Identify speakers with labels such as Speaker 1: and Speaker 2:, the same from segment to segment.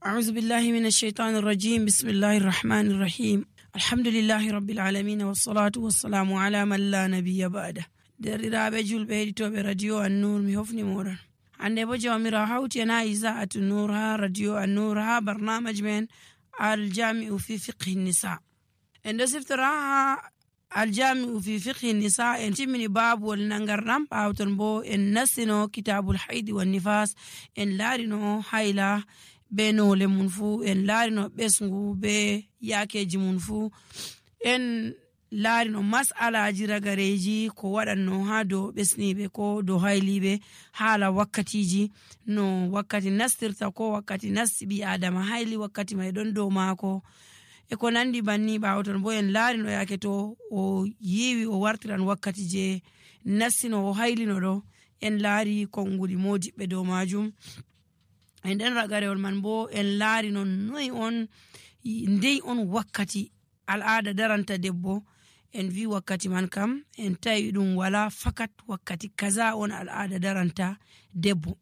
Speaker 1: أعوذ بالله من الشيطان الرجيم. بسم الله الرحمن الرحيم. الحمد لله رب العالمين والصلاة والسلام على من لا نبي بعده. derɗiraɓe julɓe heɗitoɓe radio An-Nur, mi hofni moɗon. hande bo jawmira hawti en ha Iza'atu Nur ha radio An-Nur ha barnamaj men aljami'u fi fiqhi nisa. en ɗo siftora ha aljami'u fi fiqhi nisa. en timmini babuwol nangarɗam, ɓawton bo en nastino kitabul haidi wan nifas. en laarino hayla be nole mun fu, en laarino ɓesngu be yakeji mun fu, en laarino mas'alaji ragareji ko waɗanno ha dow ɓesniɓe ko dow hayliɓe haala wakkatiji, no wakkati nastirta ko wakkati nasti ɓi adama hayli, wakkati mai ɗon dow maako e ko nandi banni. ɓawton bo en laarino yake to o yiwi o wartiran wakkati je nastino o haylino ɗo, en laari konnguli modiɓɓe dow majum. en nden ragarewol man bo en laari non ndey on wakkati al'ada daranta debbo. en vi wakkati man kam en tawi ɗum wala fakat wakkati kaza on al'ada daranta debbo.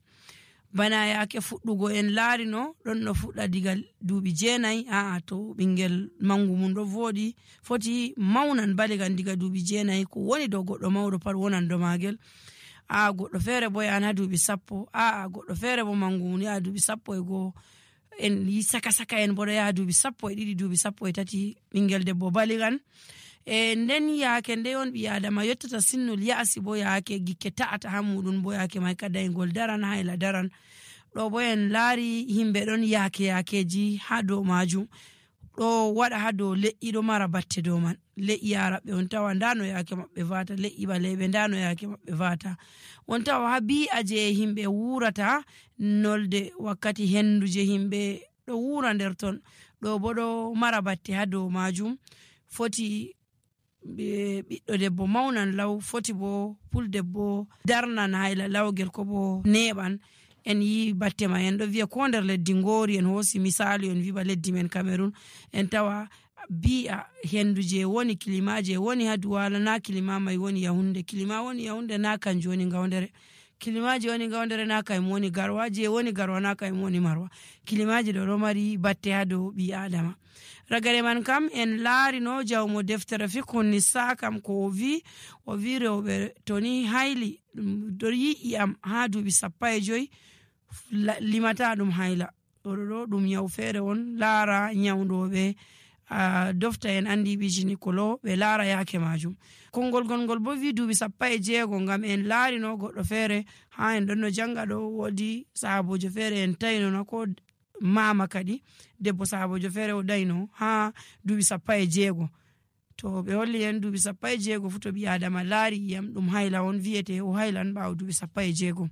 Speaker 1: bana yake fuɗɗugo en laari no ɗon no fuɗɗa diga duuɓi 9. to ɓingel mangu mum ɗo voɗi foti maunan baligan diga duuɓi 9 ko woni dow goɗɗo mawɗo pat wonan do magel. goɗɗo feere bo yahan ha duuɓi 10. goɗɗo feere bo mangu mum yaha duuɓi 11. en yi saka en bo ɗo yaha duuɓi 12, duuɓi 13 ɓingel debbo baligan. nden yaake nde on ɓi adama yottata sinnol ya'si bo yaake gikke ta'ata ha muɗum bo yaake mai kadayngol daran hayla daran. ɗo bo en laari himɓe ɗon yakeji ha dow majum ɗo waɗa ha dow leƴƴi ɗo mara batte dow man. leƴƴi araɓɓe on tawa ndano yaake maɓɓe vata, leƴƴi ɓaleɓe ndano yaake maɓɓe vata. on tawa ha bi'a je himɓe wurata nolde wakkati hendu je himɓe ɗo wura nder ton ɗo bo ɗo mara batte ha dow majum. foti ɓiɗɗo debbo maunan law, foti bo puldebbo darnan hayla lawgel ko bo neɓan. en yi batte ma en ɗo wiya ko nder leddi ngori, en hosi misali en wiba leddi men Cameroon, en tawa bi'a hendu je woni kilima je woni ha Duwala na kilima mai woni Yahunde. kilima woni Yahunde na kanjum woni Gaundere. kilimaji woni Gaundere na kayum woni Garwa. je woni Garwa na kayum woni Marwa. kilimaji ɗo mari batte ha dow ɓi adama. ragare man kam en laarino jawmo deftere fiqhu nisa kam ko o vi rewɓe toni hayli ɗo yi'i am ha duuɓi 15 limata ɗum hayla. ɗo ɗum nyawu feere on. laara nyawdoɓe dofta en andi ɓi gynécolo ɓe laara yake majum. konngol gongol bo wi duuɓi 16 ngam en laarino goɗɗo feere ha en ɗon no janga ɗo wodi sahabojo feere en tawino ko mama kadi debbo sahabojo feere o dayno ha duuɓi 16. to ɓe holli en duuɓi 16 fu to ɓi adama laari yam ɗum hayla on wiyete o haylan ɓawo duuɓi 16.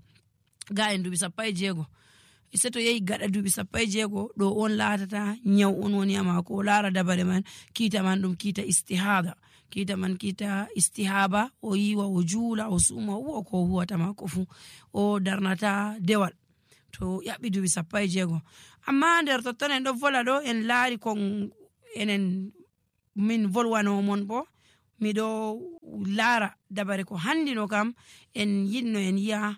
Speaker 1: ga en duuɓi 16 se to yehi gaɗa duuɓi 16 ɗo on laatata nyaw on woni amako. o laara dabare man kiita man ɗum kiita istihada. kiita man kiita istihaba. o yiwa o juula o suuma o huwa ko huwata mako fu, o darnata dewal to yaɓɓi duuɓi 16. amma nder totton en ɗo vola ɗo en laari kon enen min volwanomon bo miɗo laara dabare ko handino kam en yinno en yi'a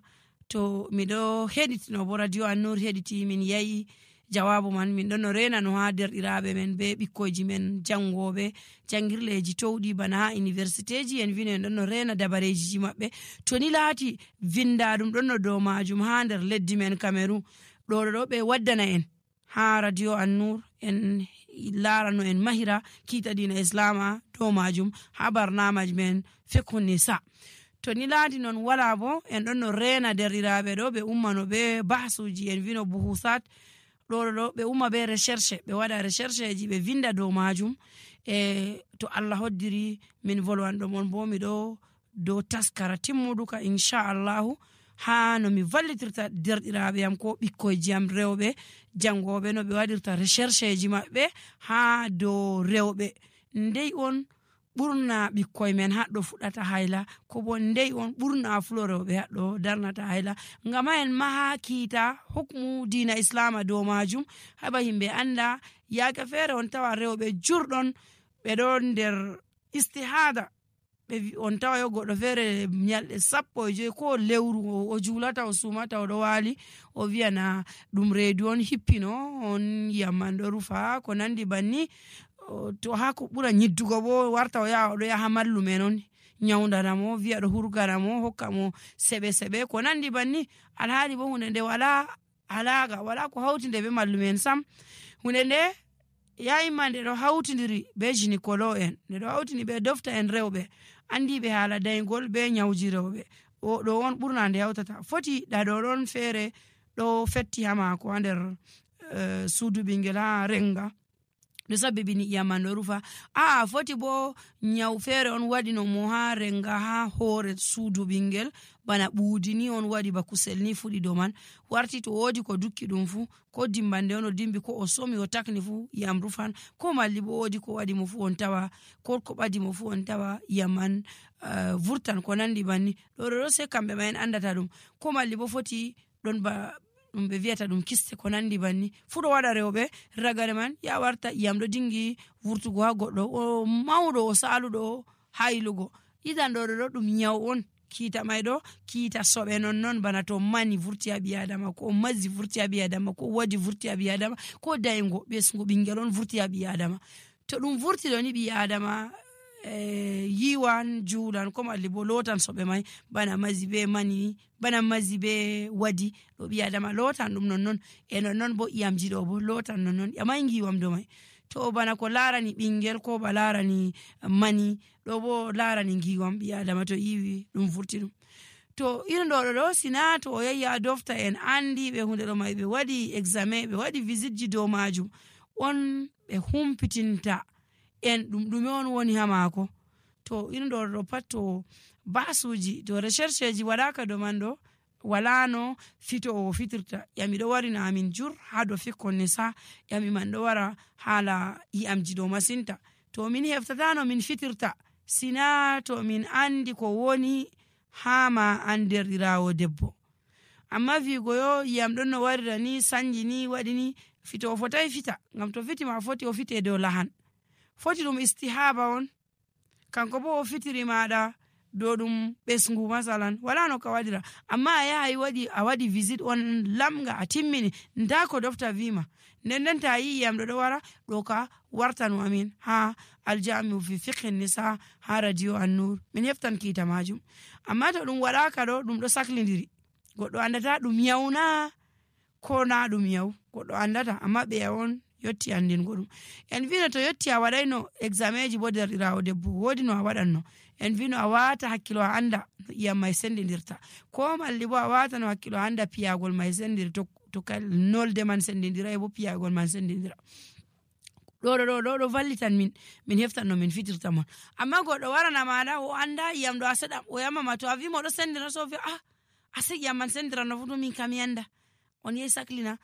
Speaker 1: to miɗo heɗitino bo radio An-Nur heɗiti min yayi jawabu man. min ɗon no renano ha derɗiraɓe men be ɓikkoyji men jangoɓe jangirleji towɗi bana ha université ji. en vino en ɗon no rena dabareji maɓɓe to ni laati vinda ɗum ɗon no dow majum ha nder leddi men Cameroon ɗo ɓe waddana en ha radio An-Nur. en laarano en mahira kiita dina islama dow majum ha barnamaj men fiqhu nisa. to ni laati non wala bo en ɗon no rena derɗiraɓe ɗo ɓe ummano be bahsuji. en vino buhusat ɗo ɓe umma be recherche, ɓe waɗa recherche ji ɓe vinda dow majum. to Allah hoddiri min volwanɗo mon bo miɗo dow taskara timmuduka inchallahu ha no mi vallitirta derɗiraɓe yam ko ɓikkoyji am rewɓe jangoɓe no ɓe waɗirta recherche ji maɓɓe ha dow rewɓe. ndey on ɓurna ɓikkoy men haɗɗo fuɗata hayla, ko bo ndey on ɓurna fulo rewɓe haɗɗo darnata hayla. ngam ha en maha kiita hukmu dina islama dow majum haɓa himɓe anda. yaake feere on tawa rewɓe jurɗon ɓe ɗon nder istihada on tawa yo goɗɗo feere nyalɗe 15 ko lewru o julata o sumata o ɗo waali o wiyana ɗum reedu on hippino on yamman ɗo rufa ko nandi banni. To ha ko ɓura nyiddugo bo warta o yaha oɗo yaha mallumen on nyawdanamo wiya ɗo hurganamo hokka mo seɓe ko nandi banni. Alhaali bo hunde nde wala alaga wala ko hawtinde be mallumen sam. Hunde nde yayima nde ɗo hawtidiri be gynécologue en, nde ɗo hawtini be dofta en rewɓe andiɓe haala daygol be nyawji rewɓe. O ɗo on ɓurna nde hawtata. Foti ɗaɗo ɗon feere ɗo fetti ha maako ha nder suudu ɓingel ha renga ɗo sabbibini iyamman ɗo rufa. Foti bo nyaw feere on waɗino mo ha renga ha hoore suudu ɓingel bana ɓuudi ni on waɗi ba kusel ni fuɗi dow man, warti to woodi ko dukki ɗum fu ko dimbande on o dimbi ko o somi o takni fu iyam rufan, ko malli bo woodi ko waɗi mo fu on tawa ko ko ɓadi mo fu on tawa iyamman vurtan ko nandi banni. ɗo se kamɓe ma en andata ɗum, ko malli bo foti ɗon ba ɗum ɓe wiyata ɗum kiste ko nandi banni fu ɗo waɗa rewɓe ragare man ya warta iyam ɗo dingi vurtugo ha goɗɗo o mawɗo o saluɗo haylugo. Idan ɗo ɗum nyaw on, kiita may ɗo kiita soɓe non bana to mani vurti ha ɓi adama ko mazzi vurti ha ɓi adama ko wadi vurti ha ɓi adama ko daygo ɓesgu ɓingel on vurti ha ɓi adama. To ɗum vurti ɗo ni ɓi adama yiwan juulan ko malli bo lotan soɓe may bana mazi be mani bana mazi be wadi ɗo ɓi adama lotan ɗum nonnon e nonnon bo iyamji ɗo bo lotan nonnon amay giwam do may. To bana ko larani ɓingel ko ba larani mani ɗo bo larani giwam ɓi adama to yiwi ɗum vurti ɗum. To irin ɗo sina to o yahi ha dofta en andi ɓe hunde ɗo may ɓe waɗi examen ɓe waɗi visite ji dow majum on ɓe humpitinta en ɗum ɗume on woni ha maako. To irin ɗo pat to basuji to recherche ji waɗaka do man ɗo wala no fito o fitirta. Yami ɗo warina amin jur ha do fikkon nisa yami man ɗo wara hala iyamji ɗo masinta. To min heftata no min fitirta sina to min andi ko woni hama an derɗirawo debbo. Amma wigo yo iyam ɗon no warira ni sanji ni waɗi ni fito o fotai fita, ngam to fiti ma foti o fite dow lahan. Foti ɗum istihaba on, kanko bo o fitiri maɗa dow ɗum ɓesgu masalan wala no ka waɗira. Amma a yaha a waɗi visite on lamga a timmini nda ko dofta wima nden ta yi iyam ɗo wara ɗo ka wartanu amin ha aljamiu fi fiqhe nisa ha radio An-Nur min heftan kiita majum. Amma to ɗum waɗaka ɗo ɗum ɗo saklidiri goɗɗo andata ɗum yawna ko na ɗum yaw goɗɗo andata, amma ɓe yawon yotti andingo ɗum. En vino to yotti a waɗayno examen ji bo derɗirawo debbo woodi no a waɗanno, en vino a wata hakkilo a anda no iyam may sendidirta, ko malli bo a wata no hakkilo a anda piyagol may sendiri to kal nolde man sendidira e bo piyagol man sendidira. ɗo vallitan min heftan no min fitirta mon. Amma goɗɗo warana maɗa o anda iyam ɗo a seɗam o yamama to a wimo ɗo sendira so wiya ase iyam man sendirano fu to min kam yanda on yehi saklina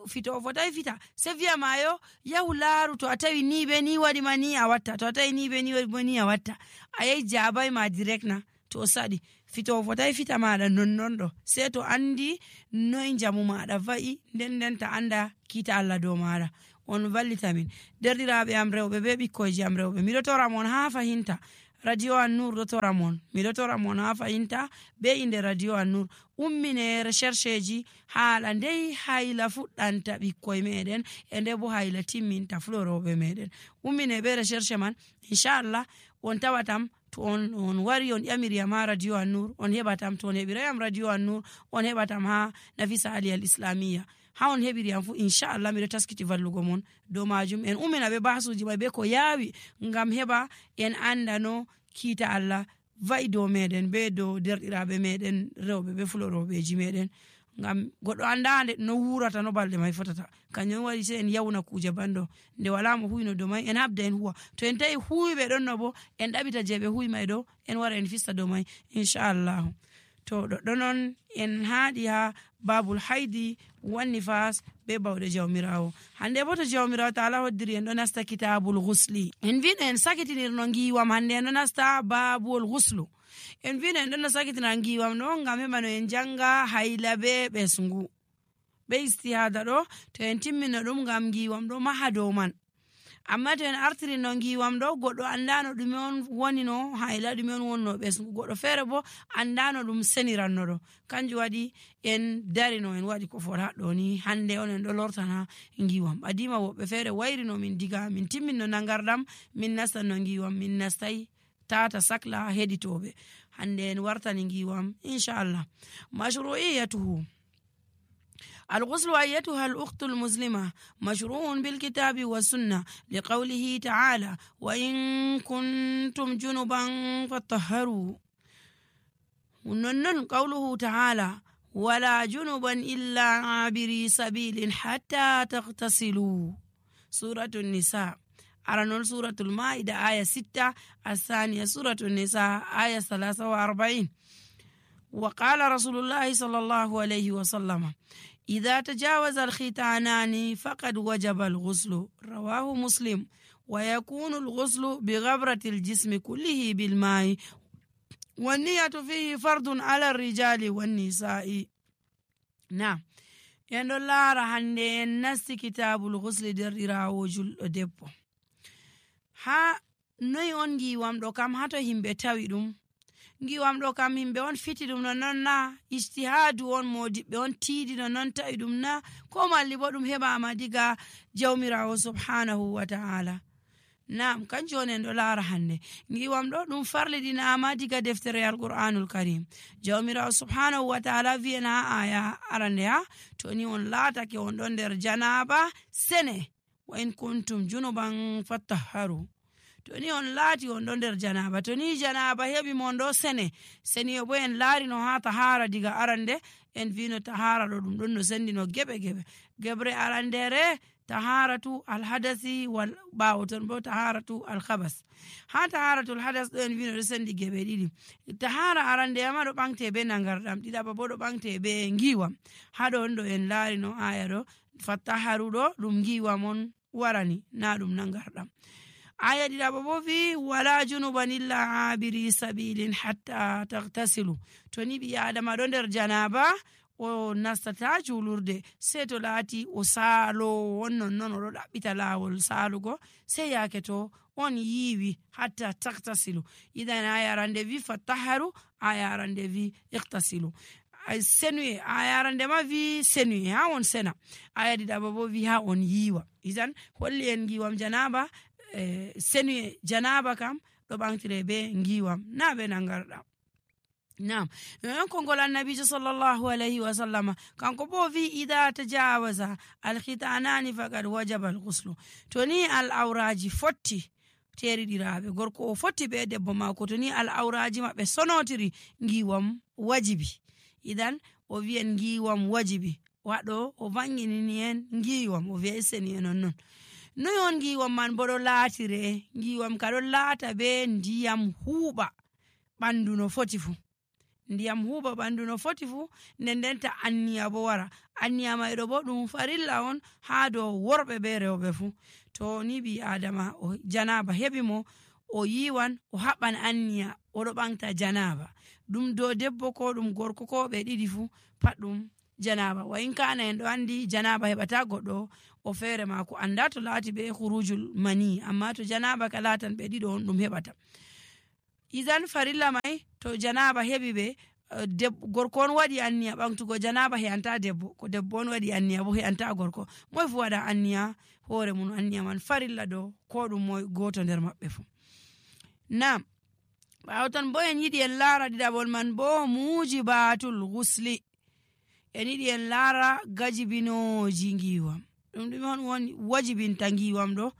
Speaker 1: fito o fotai fita se wiya mayo yahu laaru to a tawi ni be ni waɗi ma ni a watta, to a tawi ni be ni waɗi ma ni a watta, a yehi jabai ma direct na to o saɗi fito o fotai fita maɗa nonnon ɗo se to andi noy jamu maɗa va'i nden ta anda kiita Allah dow maɗa. On vallita min derɗiraɓe am rewɓe be ɓikkoyji am rewɓe, miɗo tora mon ha fahinta radio An-Nur ɗo tora mon, miɗo tora mon ha fahinta be inde radio An-Nur ummine recherche ji haala ndey hayla fuɗɗanta ɓikkoye meɗen e nde bo hayla timminta fuloroɓe meɗen. Ummine be recherche man inchallah on tawatam to on wari on ƴamiriyam ha radio An-Nur on heɓatam, to on heɓirayam radio An-Nur on heɓatam ha Nafisa Ali al Islamiyya ha on heɓiriyam fu inchallah miɗo taskiti vallugo mon dow majum. En ummina be basuji may be ko yaawi ngam heɓa en anda no kiita Allah va'i dow meɗen be dow derɗiraɓe meɗen rewɓe be fuloroɓeji meɗen, ngam goɗɗo andande no wurata no balɗe may fotata. Kanjum waɗi se en yawna kuje banɗo nde wala mo huyno dow may en habda en huwa, to en tawi huwiɓe ɗon no bo en ɗaɓita je ɓe huwi may ɗo en wara en fista dow may inchallahu. To ɗoɗɗo noon en haaɗi ha babul haydi wanni fas be bawɗe jawmirawo. Hande bo to jawmirawo taala hoddiri en ɗo nasta kitabul ghusli, en vino en sakitinirno giwam hande en ɗo nasta babul ghuslu. En vino en ɗon no sakitina giwam ɗo ngam heɓa no en janga hayla be ɓesgu be istihada ɗo to en timmino ɗum ngam giwam ɗo maha dow man. amma to en artiri no ngiwam ɗo goɗɗo andano ɗume on woni no hayla ɗume on wonno ɓesgu goɗɗo feere bo andano ɗum seniranno ɗo kanjum waɗi en darino en waɗi ko fota ɗo ni hande on en ɗo lortana ngiwam adima woɓɓe feere wayrino min diga min timminno nangarɗam min nastan no ngiwam min nastai tata sakla heɗitoɓe hande en wartani ngiwam inchallah mashru'iyatuhu الغسل أيتها الأخت المسلمة مشروع بالكتاب والسنة لقوله تعالى وإن كنتم جنبا فطهروا ونن قوله تعالى ولا جنبا إلا عابري سبيل حتى تغتسلوا سورة النساء أرنول سورة المائدة آية 6 الثانية سورة النساء آية 43 وقال رسول الله صلى الله عليه وسلم إذا تجاوز الختانان فقد وجب الغسل رواه مسلم ويكون الغسل بغبرة الجسم كله بالماء والنية فيه فرض على الرجال والنساء نعم يندو الله رهنده الناس كتاب الغسل درراو جل دبو ha noy on ngiwam ɗo kam hato himɓe tawi ɗum ngiwam ɗo kam himɓe on fiti ɗum non na ijtihadu on modiɓɓe on tiidi non tawi ɗum na ko malli bo ɗum heɓama diga jawmirawo subhanahu wa ta'ala nam kanjum on en ɗo laara hande ngiwam ɗo ɗum farliɗinama diga deftere alqur'anul karim jawmirawo subhanahu wa ta'ala wi'en ha aya arande ha to ni on laatake on ɗon nder janaba sene wa in kuntum junuban fattaharu to ni on laati on ɗo nder janaba to ni janaba heɓi mon ɗo seniyo bo en laarino ha tahara diga arande en vino tahara ɗo ɗum ɗon no sendino geɓre arandere taharatu alhadasi wal ɓawo ton bo taharatu alhabas ha taharatu alhadas ɗo en vino ɗo sendi geɓe ɗiɗi tahara arandeyama ɗo ɓamte be nangarɗam ɗiɗaɓa bo ɗo ɓamte be ngiwam ha ɗo on ɗo en laarino aya ɗo fattaharu ɗo ɗum ngiwam on warani na ɗum nangarɗam aya ɗiɗaɓa bo wi wala junuban illa abiri sabilin hatta tagtasilu to ni ɓi adama ɗo nder janaba o nastata julurde sei to laati o saalo on nonnon oɗo ɗaɓɓita lawol saalugo sei yake to on yiwi hatta tagtasilu idan aya arande wi fattaharu aya arande wi iktasilu senuye aya arande ma wi senuye ha on sena aya ɗiɗaɓa bo wi ha on yiwa idan holli en ngiwam janaba senuye janaba kam ɗo ɓantire be ngiwam na be nangarɗam nam non kongol annabijo sallallahu alayhi wa sallama kanko bo wi ida tajawaza alkhitanani faqad wajaba alghuslu to ni al awraji fotti teriɗiraɓe gorko o fotti be debbo mako to ni al awraji maɓɓe sonotiri ngiwam wajibi idan o wi'en ngiwam wajibi waɗo o vanginini en ngiwam o wi'a seni en non noy on ngiwam man bo ɗo laatire ngiwam ka ɗo laata be ndiyam huuɓa ɓandu no foti fu ndiyam huuɓa ɓandu no foti fu ndenta anniya bo wara anniya mayɗo bo ɗum farilla on ha dow worɓe be rewɓe fu to ni ɓi adama o janaba heɓi mo o yiwan o haɓɓan anniya oɗo ɓanta janaba ɗum dow debbo ko ɗum gorko ko ɓe ɗiɗi fu pat ɗum janaba wa in kana en ɗo andi janaba heɓata goɗɗo o feere mako anda to laati be khurujul mani amma to janaba ka laatan ɓe ɗiɗo on ɗum heɓata idan farilla mai to janaba heɓi ɓe gorko on waɗi anniya ɓamtugo janaba he'anta debbo ko debbo on waɗi anniya bo he'anta gorko moy fu waɗa anniya hoore mum anniya man farilla ɗo ko ɗum moy goto nder maɓɓe fu nam ɓawo ton bo en yiɗi en laara ɗiɗaɓol man bo mujibatul ghusli en yiɗi en laara gajibinoji ngiwam ɗum ɗume on woni wajibinta ngiwam ɗo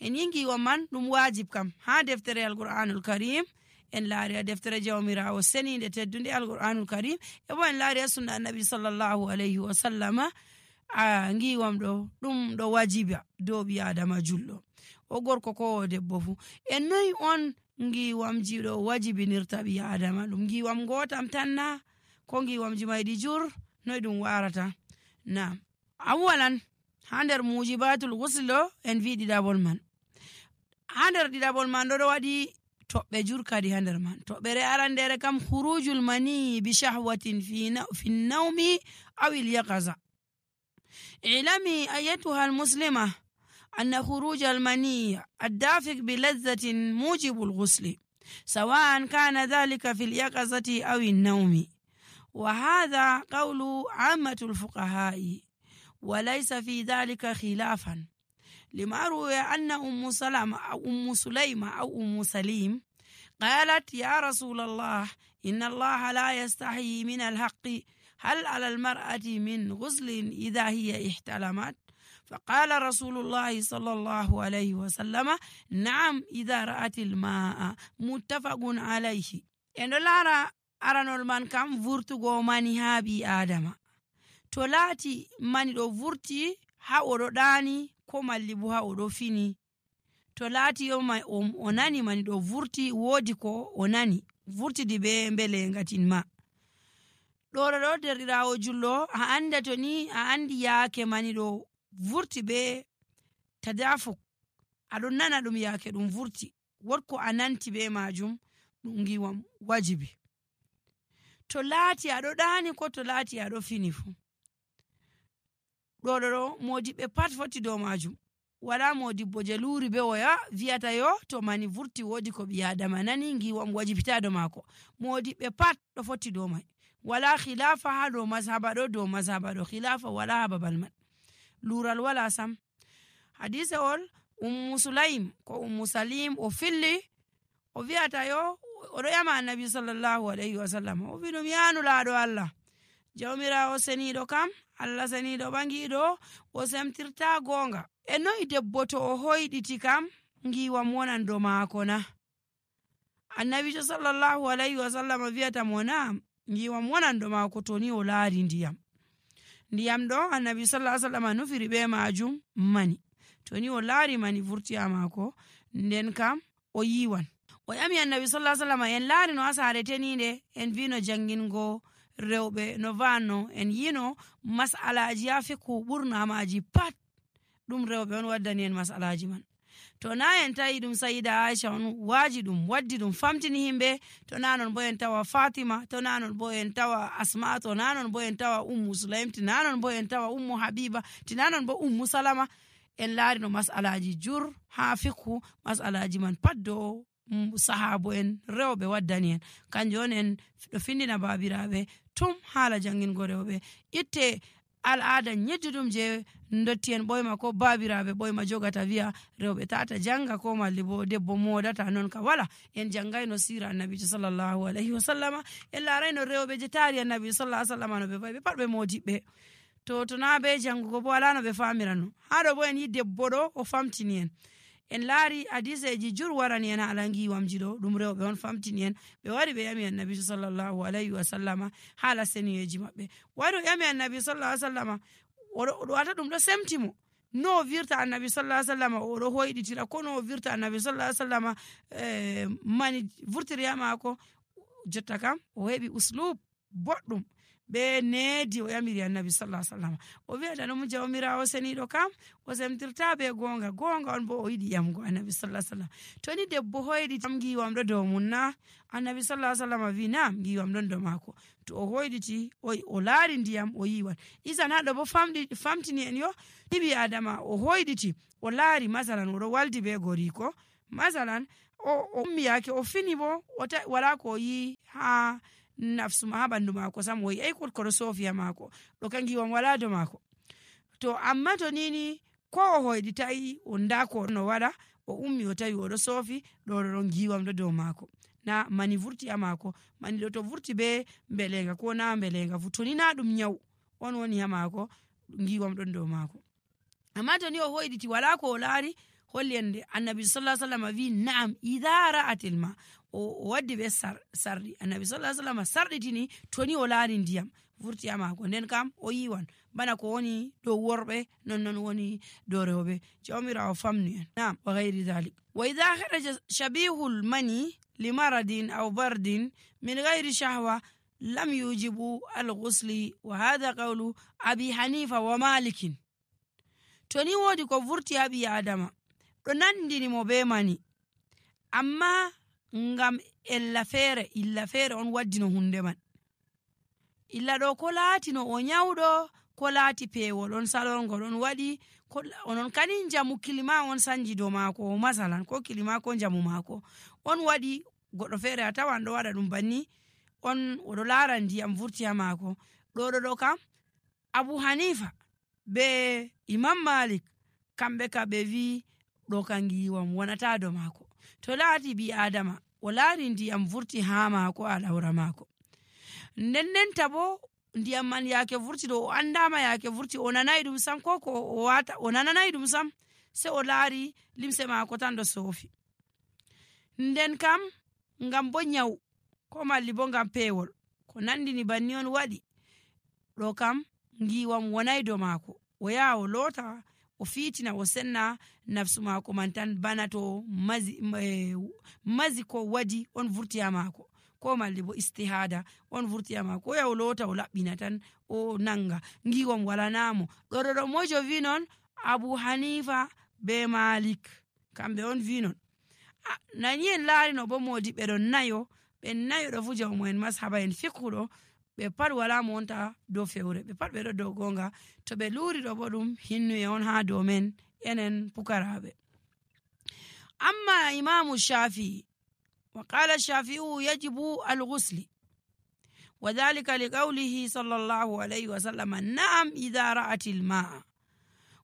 Speaker 1: en yi ngiwam man ɗum wajib kam ha deftere alqur'anul karim en laari a deftere jawmirawo seninde teddunde alqur'anul karim e bo en laari a sunna annabi sallallahu alayhi wa sallama a ngiwam ɗo ɗum ɗo wajiba dow ɓi adama julɗo o gorko ko o debbo fu en noyi on ngiwamji ɗo wajibinirta ɓi adama ɗum ngiwam gotam tanna ko ngiwamji mayɗi jur noy ɗum warata na awalan ha nder mujibatul ghusl ɗo en wi ɗiɗaɓol man ha nder ɗiɗaɓol man ɗo waɗi toɓɓe jur kadi ha nder man toɓɓere arandere kam khurujul mani bi shahwatin fi nawmi aw il yaqaza ilami ayatuha al muslima أن خروج المني الدافق بلذة موجب الغسل سواء كان ذلك في اليقظة أو النوم، وهذا قول عامة الفقهاء وليس في ذلك خلافا، لما روي أن أم سليم قالت يا رسول الله إن الله لا يستحي من الحق، هل على المرأة من غسل إذا هي احتلمت؟ فقال رسول الله صلى الله عليه وسلم نعم إذا رأت الماء، متفق عليه. endo lara aranol man kam vurtugo mani ha bi adama, to laati mani ɗo vurti ha oɗo ɗani ko malli bo ha oɗo fini, to laati o nani mani ɗo vurti wodi ko o nani vurtidi be mbelengatin ma ɗo derɗirawo jullo a anda to ni a andi yaake mani ɗo vurti be tadafuk, aɗon nana ɗum yaake ɗum vurti wotko a nanti be majum ɗum giwam wajibi. To laati aɗo ɗani ko to laati aɗo fini fu ɗo modiɓɓe pat foti dow majum, wala modibbo je luri be oya viyata yo to mani vurti wodi ko ɓi adama nani giwam wajibita do mako. Modiɓɓe pat ɗo foti dow mai, wala khilafa ha dow mazhaba ɗo khilafa wala ha babal man, lural wala sam. hadise ol ummu salim o filli o viyata yo oɗo yama annabi sallallahu alaihi wasallam o wi ɗum yanu laaɗo Allah jawmirawo seniɗo kam Allah seniɗo ɓangiɗo o semtirta gonga, e noyi debbo to o hoyɗiti kam giwam wonan do maako na? annabijo sallallahu alaihi wasallam viyata mo na giwam wonan do maako to ni o laari ndiyam ɗo annabi sallallahu alaihi wasallam nufiri be majum mani, to ni o laari mani vurti ha maako nden kam o yiwan. O yami annabi sallallahu alaihi wasallam en laari no ha saare teninde en vino jangingo rewɓe no vanno en yino masalaji ha fikku ɓurna maji pat ɗum rewɓe on waddani en masalaji man. To na en tawi ɗum sayida Aisha on waji ɗum waddi ɗum famtini himɓe, to na non bo en tawa Fatima, to na non bo en tawa Asma, to na non bo en tawa Ummu Sulaim, to na non bo en tawa Ummu Habiba, to na non bo Ummu Salama. En laari no masalaji jur ha fikku masalaji man pat do sahabo en rewɓe waddani en, kanjum on en ɗo findina babiraɓe tum haala jangingo rewɓe itte al'ada nyedduɗum je dotti en ɓoyma ko babiraɓe ɓoyma jogata wiya rewɓe tata janga ko malli bo debbo modata non ka wala. En jangayno sira annabijo sallallahu alaihi wasallama, en larayno rewɓe je taari annabi sallallahu alaihi wasallama no ɓe fayi ɓe pat ɓe modiɓɓe, to na be jangugo bo wala no ɓe famirano. haɗo bo en yi debbo ɗo o famtini en laari hadiseji jur warani en haala giwamji ɗo ɗum rewɓe on famtini en. ɓe wari ɓe yami annabi sallallahu alaihi wasallama haala seniyeji maɓɓe, wari o yami annabi sallallahu alaihi wasallama oɗo wata ɗum ɗo semtimo no o virta annabi sallallahu alaihi wasallama oɗo hoyɗitira ko no o virta annabi sallallahu alaihi wasallama mani vurtiri ha maako. Jotta kam o heɓi uslub boɗɗum be needi o yamiri annabi sallallahu alaihi wasallam o wi'ata ɗum jawmirawo seniɗo kam o semtirta be gonga on bo o yiɗi yamgo annabi sallallahu alaihi wasallam. To ni debbo hoyɗi tam giwam ɗo dow mum na? Annabi sallallahu alaihi wasallam wi nam giwam ɗon dow mako, to o hoyɗiti o laari ndiyam o yiwan. Isan haɗo bo famtini en yo ɗiɓi adama o hoyɗiti o laari masalan oɗo waldi be goriko masalan o ummiyake o fini bo wala ko yi ha nafsu ma ha bandu mako sam o yi koɗo sofiya mako ɗo kan giwam wala do mako. To amma to nini ko o hoyɗitayi o nda ko no waɗa o ummi o tawi oɗo sofi ɗon giwam ɗo dow mako na mani vurti ha mako. Mani ɗo to vurti be mbelenga ko na mbelenga fu to ni na ɗum nyawu on woni ha mako giwam ɗon dow mako. Amma to ni o hoyɗiti wala ko o laari holli en annabi sallallahu alaihi wasallam wi na'am idha ra'atil ma o waddi be sarri annabi sallallahu alaihi wasallam sarditini to ni o laari ndiyam vurti ha mako nden kam o yiwan bana ko woni dow worɓe non woni dow rewɓe. jawmirawo famni en. na'am wa ghairi dhalik. wa idha kharaja shabihul mani limaradin aw bardin min ghairi shahwa lam yujibu al-ghusli wa hadha qawlu abi hanifa wa malikin. to ni wodi ko vurti ha ɓi adama ɗo nandini mo be mani amma ngam illa feere on waddino hunde man. illa ɗo ko laatino o nyawɗo ko laati peewol on salorngol on waɗi ko onon kani jamu kilima on sanji dow maako masalan ko kilima ko jamu maako on waɗi goɗɗo feere a tawan ɗo waɗa ɗum banni on oɗo laara ndiyam vurti ha maako ɗo kam Abu Hanifa be Imam Malik kamɓe ka ɓe wi ɗo ka ngiwam wonata dow maako to laati bi adama o laari ndiyam vurti ha maako a lawra maako ndendenta bo ndiyam man yaake vurti ɗo o andama yaake vurti o nanayi ɗum sam ko o nananayi ɗum sam se o laari limse maako tan ɗo soofi nden kam ngam bo nyawu ko malli bo ngam peewol ko nandini banni on waɗi ɗo kam ngiwam wonayi dow maako o yaha o loota o fiitina o senna nafsu maako man tan bana to mazi ko wadi on vurti ha maako ko malli bo istihada on vurti ha maako o yaha o loota o laɓɓina tan o nanga ngiwam walanamo ɗo mojo wi non Abu Hanifa be Malik kamɓe on wi non nani en laari no bo modiɓɓe ɗon nayo ɓen nayo ɗo fu jawmu en mashaba en fiqhuɗo ɓe pat wala mo wonta dow fewre ɓe pat ɓe ɗo dow gonga to ɓe luuri ɗo bo ɗum hinnuye on ha dow men enen pukaraɓe amma imamu Shafi'i wa qala Shafi'u yajibu al-ghusli wa dhalika li qawlihi sallallahu alayhi wa sallam na'am idha ra'at al-ma'a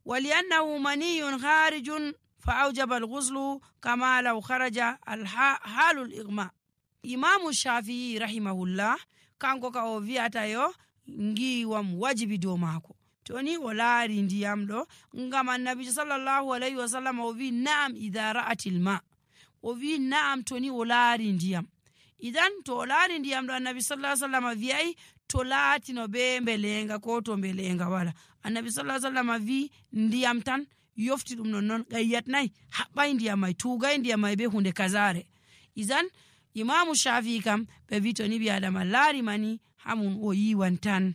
Speaker 1: wa li'annahu maniyyun kharijun fa awjaba al-ghuslu kama law kharaja halul ighma imamu Shafi'i rahimahullah kanko ka o wi'ata yo ngiwam wajibi dow maako to ni o laari ndiyam ɗo ngam annabijo sallallahu alayhi wa sallam o wi na'am idha ra'atil ma o wi na'am to ni o laari ndiyam idan to o laari ndiyam ɗo annabi sallallahu alayhi wa sallam wi'ay to laatino be mbelenga ko to mbelenga wala annabi sallallahu alayhi wa sallam wi ndiyam tan yofti ɗum non gayyatnayi haɓɓay ndiyam may tugay ndiyam may be hunde kazare idan imamu Shafi'i kam ɓe wi to ni ɓi adama laari mani hamun o yiwan tan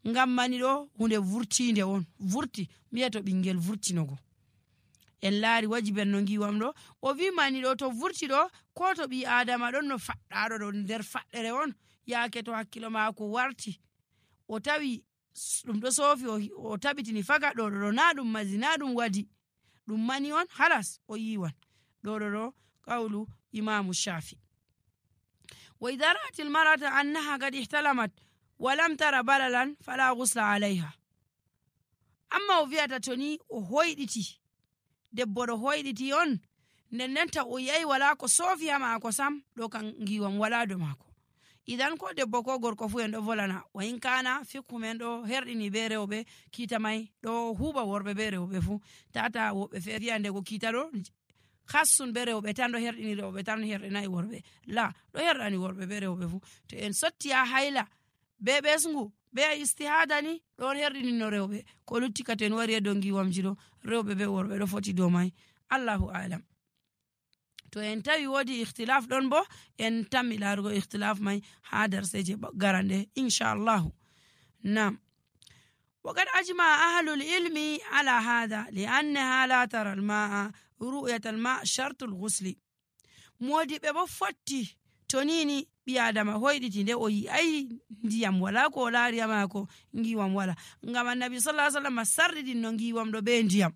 Speaker 1: ngam mani ɗo hunde vurtinde on vurti mbiya to ɓingel vurtinogo en laari wajiben no ngiwam ɗo o wi mani ɗo to vurti ɗo ko to ɓi adama ɗon no faɗɗaɗo ɗo nder faɗɗere on yaake to hakkilo maako warti o tawi ɗum ɗo soofi o tabitini faga ɗo na ɗum mazi na ɗum wadi ɗum mani on halas o yiwan ɗo qawlu imamu Shafi wa idha ra'at al-mar'ata annaha qad ihtalamat wa lam tara balalan fala ghusla 'alayha amma o wi'ata toni o hoyditi debbo ɗo hoyditi on ndendenta o yayi wala ko soofi ha maako sam ɗo kan ngiwam wala do maako idan ko debbo ko gorko fu en ɗo volana wa in kana fiqhu men ɗo herɗini be rewɓe kiita may ɗo huuɓa worɓe be rewɓe fu tata woɓɓe feere wi'a ndego kiita ɗo hassun be rewɓe tan ɗo herɗini rewɓe tan herɗinayi worɓe la ɗo herɗani worɓe be rewɓe fu to en sotti ha hayla be ɓesngu be istihada ni ɗon herɗinino rewɓe ko lutti ka to en wari e dow ngiwamji ɗo rewɓe be worɓe ɗo foti dow may Allahu alam to en tawi wodi ikhtilaf ɗon bo en tammi laarugo ikhtilaf may ha darseje garande inchallahu nam وقد أجمع أهل العلم على هذا لأنها لا ترى الماء رؤية الماء شرط الغسل مودي بebo fotti tonini bi adama hoyditi nde o yi ay ndiyam wala ko laari amako ngiwam wala ngam annabi sallallahu alaihi wasallam sarridi no ngiwam do be ndiyam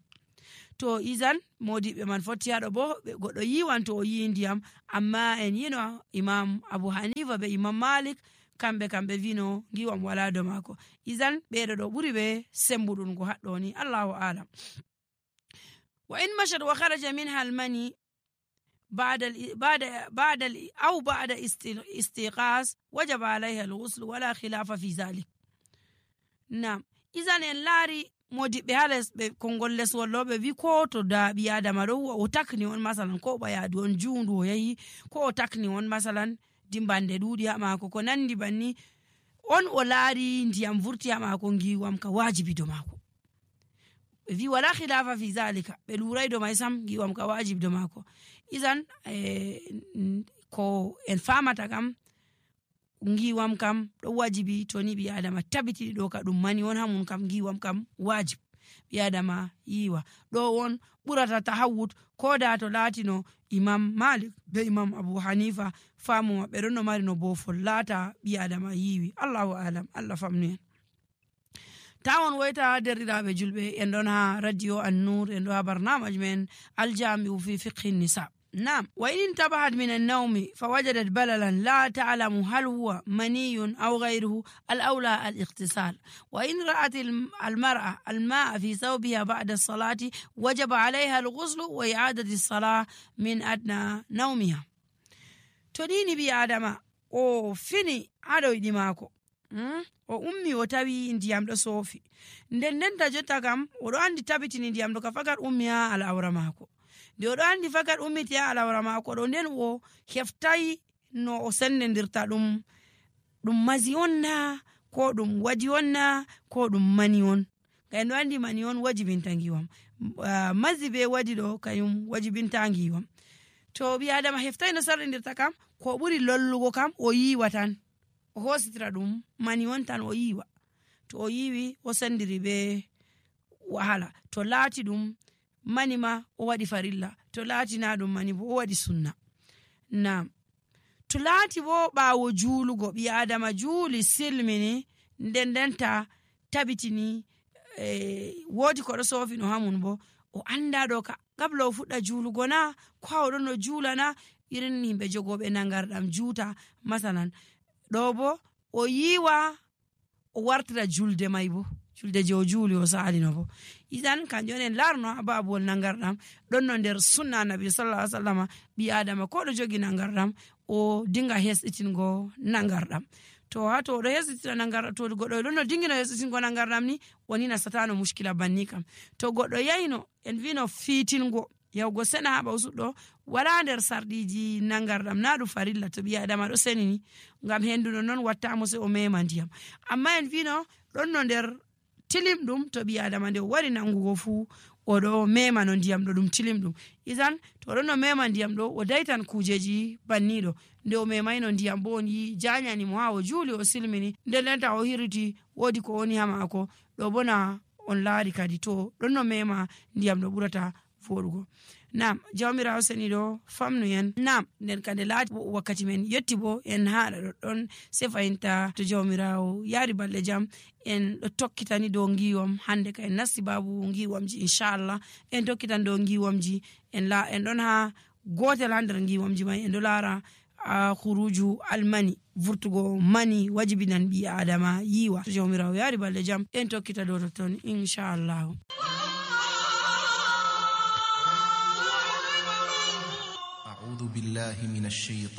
Speaker 1: to izan modiɓe man fotti haɗo bo goɗɗo yiwan to o yi ndiyam amma en yino imam Abu Hanifa be imam Malik kamɓe vino ngiwam wala do mako izan ɓeɗo ɗo ɓuri ɓe sembuɗungo haɗɗo ni Allahu alam wa in mashat wa kharaja minha almani بعد استيقاظ وجب عليها الغسل ولا خلاف في ذلك نعم إذن en laari modiɓɓe hales ɓe kongol les wolloɓe wi ko to da ɓi adama ɗo o takni on masalan ko ɓayadu on juundu o yahi ko o takni on masalan dimbande ɗuuɗi ha maako ko nandi banni on o laari ndiyam vurti ha maako ngiwam ka wajibi do maako ɓe wi wala khilafa fi zalika ɓe luuray do may sam ngiwam ka wajibi do maako izan ko en famata kam ngiwam kam ɗo wajibi to ni ɓi adama tabiti ɗo ka ɗum mani on hamun kam ngiwam kam wajib ɓi adama yiwa ɗo on ɓurata tahawud ko da to laatino imam Malik be imam Abu Hanifa famu maɓɓe ɗon no mari no bofol laata ɓi adama yiwi Allahu alam Allah famnu en tawon woyta derɗiraɓe julɓe en ɗon ha radio An-Nur en ɗo ha barnamaj men aljami'u fi fiqhi nisa. نعم وإن انتبهت من النوم فوجدت بللا لا تعلم هل هو مني أو غيره الأولى الاغتسال. وإن رأت المرأة الماء في ثوبها بعد الصلاة وجب عليها الغسل وإعادة الصلاة من أدنى نومها. تديني بي آدم أو فيني هذا يدماكو o ummi o tawi ndiyam ɗo soofi nden ta jotta kam oɗo andi tabitini ndiyam ɗo ka fakat ummi ha al'aura maako nde oɗo andi fakat ummiti ha al'aura maako ɗo nden o heftai no o sendendirta ɗum mazi on na ko ɗum waji on na ko ɗum mani on. Kay ɗo andi mani on wajibinta ngiwam, mazi be waji ɗo kayum wajibinta ngiwam. To ɓi adama heftai no sarrindirta kam ko ɓuri lollugo kam o yiwa tan o hositira ɗum mani on tan o yiwa. To o yiwi o sendiri be wahala. To laati ɗum mani ma o waɗi farilla, to laati na ɗum mani bo o waɗi sunna. Naam. To laati bo ɓaawo juulugo ɓi adama juuli silmini ndendenta tabitini woodi ko ɗo soofi no hamun bo o anda ɗo ka gabla o fuɗɗa juulugo na ko o ɗon no juulana irin himɓe jogoɓe nangarɗam juuta masalan ɗo bo o yiwa o wartira julde may bo julde je o juuli o saalino bo idan kanjum en larno ha babuwol nangarɗam ɗon no nder sunna nabi sallallahu alaihi wasallam ɓi adama ko ɗo jogi nangarɗam o dinga hesɗitingo nangarɗam. To ha to ɗo hesɗitira nangarɗam to goɗɗo ɗon no dingino hesɗitingo nangarɗam ni woni nasatano muskila banni kam. To goɗɗo yayno en vino fiitingo yawgo sena ha ɓawsuɗɗo wala nder sarɗiji nangarɗam na ɗum farilla to ɓi adama ɗo senini ngam henduno non wattamo se o mema ndiyam. Amma en vino ɗon no nder tilim ɗum to ɓi adama nde o wari nangugo fuu oɗo mema no ndiyam ɗo ɗum tilim ɗum. Isan to ɗon no mema ndiyam ɗo o daitan kujeji banniɗo nde o memayno ndiyam bo on yi janyani mo ha o juuli o silmini ndendenta o hiriti woodi ko woni ha maako ɗo bona on laari kadi to ɗon no mema ndiyam ɗo ɓurata foɗugo. Nam jawmirawo seni ɗo famnu en nam nden kande laati wakkati men yetti bo en haɗa ɗoɗɗon se fayinta to jawmirawo yaari balɗe jam en ɗo tokkitani dow ngiwam hande ka en nasti babu ngiwamji inchallah en tokkitan dow ngiwamji en ɗon ha gotel ha nder ngiwamji mai en ɗo laara khuruju almani vurtugo mani wajibinan ɓi adama yiwa. To jawmirawo yaari balɗe jam en tokkita dow totton inchallah.
Speaker 2: أعوذ بالله من الشيطان